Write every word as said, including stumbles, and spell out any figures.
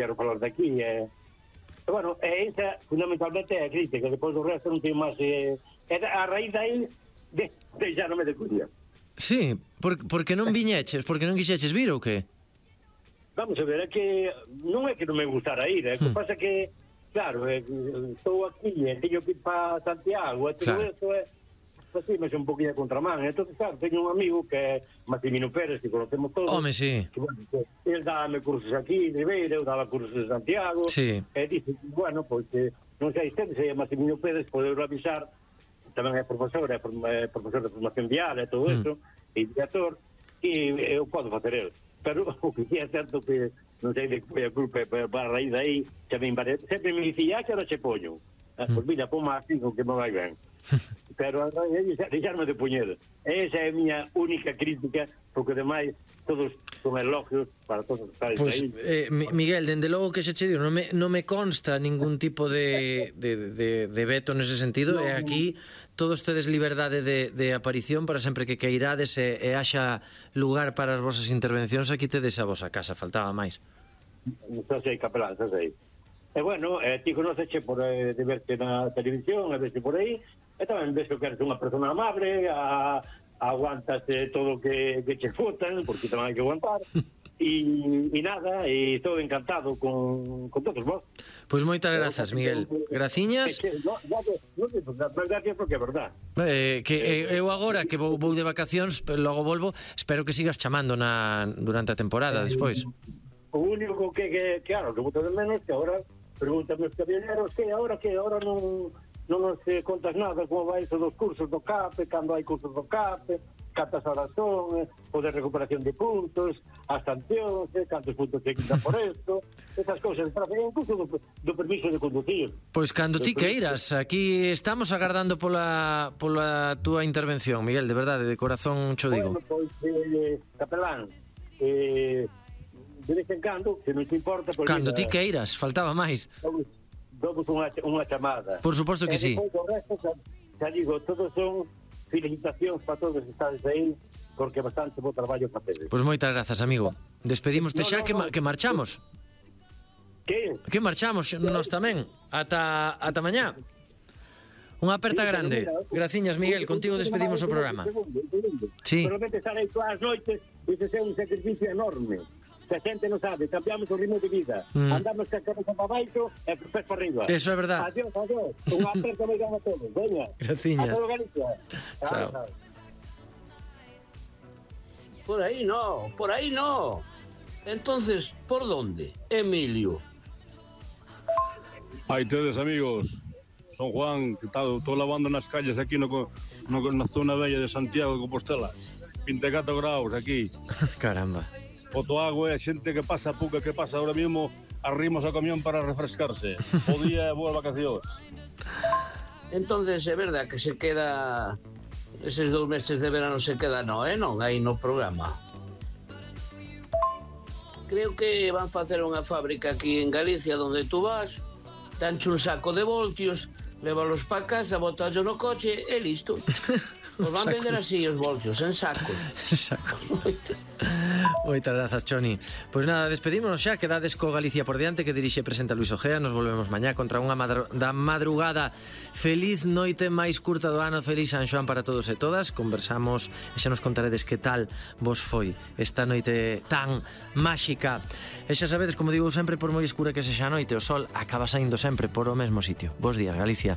quero falar daqui, e, e bueno, e esa fundamentalmente é a crítica, depois do resto non ten máis, e, e a raíz aí de, deixarme de cuidar. Sí, por, porque non viñeches, porque non quixeches vir ou que? Vamos a ver, é que non é que non me gustara ir, é que Hmm. pasa que, claro, é, estou aquí e teño que ir para Santiago, e todo Claro. isto é, pues sí, me é un poquinho a contramán. Entón, claro, teño un amigo que é Maximino Pérez, que conocemos todos. Home, sí. Que, bueno, que él dábame cursos aquí, de Ribeira, eu daba cursos en Santiago. Sí. E dice, bueno, pois, pues, non sei, se é Maximino Pérez, poder avisar, tamén é profesor, é, é profesor de formación vial e todo Mm. eso, e director, e eu podo facer el. Pero o que é certo que non sei de que foi a culpa, pero para a raíz aí chamei varias, sempre me dicía que ahora che poño, mm. Pois mira, pon máis cinco que me vai ben. Pero a raíz deixarme de poñer. Esa é a miña única crítica, porque demais todos son elogios para todos os países. Pois, Aí. eh, Miguel, dende logo que se che digo, non me, non me consta ningún tipo de, de, de, de veto nese sentido, No. e aquí todos tedes liberdade de, de aparición para sempre que queirades e, e haxa lugar para as vosas intervencións, aquí tedes a vosa casa, faltaba máis. Xa sei, capelán, xa sei. E bueno, eh, ti conoceche por eh, de verte na televisión, a verte por aí, e tamén ves que eres unha persona amable, a, aguantas eh, todo o que, que che fotan, porque tamén hai que aguantar, e, e nada, e estou encantado con, con todos vos. Pois moitas grazas, Miguel. Graciñas. No, no, no, no, gracias porque é verdad. Eh, que eh, eu agora que vou, vou de vacacións, pero logo volvo, espero que sigas chamando na, durante a temporada, despois. O único que, que claro, que boto de menos que agora pregúntame os camioneros que agora que agora non non nos eh, contas nada como vai iso dos cursos do C A P, cando hai cursos do C A P, cantas horas son, eh, o de recuperación de puntos, as sancións, eh, cantos puntos se quitan por esto, esas cousas, incluso do, do permiso de conducir. Pois cando ti queiras, aquí estamos agardando pola, pola túa intervención, Miguel, de verdade, de corazón cho digo. Bueno, pois, eh, capelán, eh, de vez en cando, se non te importa... Pois, Cando ti mira, queiras, faltaba máis. damos unha, unha chamada. Por suposto que e sí. Depois do resto, xa, xa digo, todos son felicitacións para todos os que estades aí, porque bastante bo traballo para tedes. Pois moitas grazas, amigo. Despedímoste No, xa no, que, no. ma- que marchamos. Que? Que marchamos nós tamén. Ata, ata mañá. Unha aperta Sí, pero grande. mira, Graciñas, Miguel. Contigo despedimos o programa. Sí. Solamente estar aí todas as noites, ese é un sacrificio enorme. Se a xente non sabe, cambiamos o ritmo de vida. Mm. Andamos ca cabeza para baixo e pés para arriba. Eso é verdad. Adiós, adiós. Unha aperta moi grande a todos. Veña. Graciñas. A todo Galicia. Chao. Chao. Por ahí no, por ahí no. Entonces, ¿por dónde? Emilio. Aí tedes, amigos. Son Juan, que tal, estou lavando nas calles aquí no, no, na zona bella de Santiago de Compostela. vinte e catro graus aquí. Caramba. Foto agua e a xente que pasa, pouca que pasa ahora mismo, arrimos ao camión para refrescarse. Bo día e boas vacacións. Entonces, é verdad que se queda... Eses dous meses de verano se queda no, eh, non? Aí no programa. Creo que van facer unha fábrica aquí en Galicia donde tú vas, danche un saco de voltios, lévalos pa casa, botallo no coche e listo. Os van Saco. vender así os voltios, en sacos. Saco. Moitas grazas, Choni. Pois nada, despedímonos xa, quedades co Galicia por diante, que dirixe e presenta Luis Ojea. Nos volvemos mañá contra unha madru- da madrugada. Feliz noite máis curta do ano, feliz San Xoán para todos e todas. Conversamos e xa nos contaredes que tal vos foi esta noite tan máxica. E xa sabedes, como digo sempre, por moi escura que sexa a noite, o sol acaba saindo sempre por o mesmo sitio. Bos días, Galicia.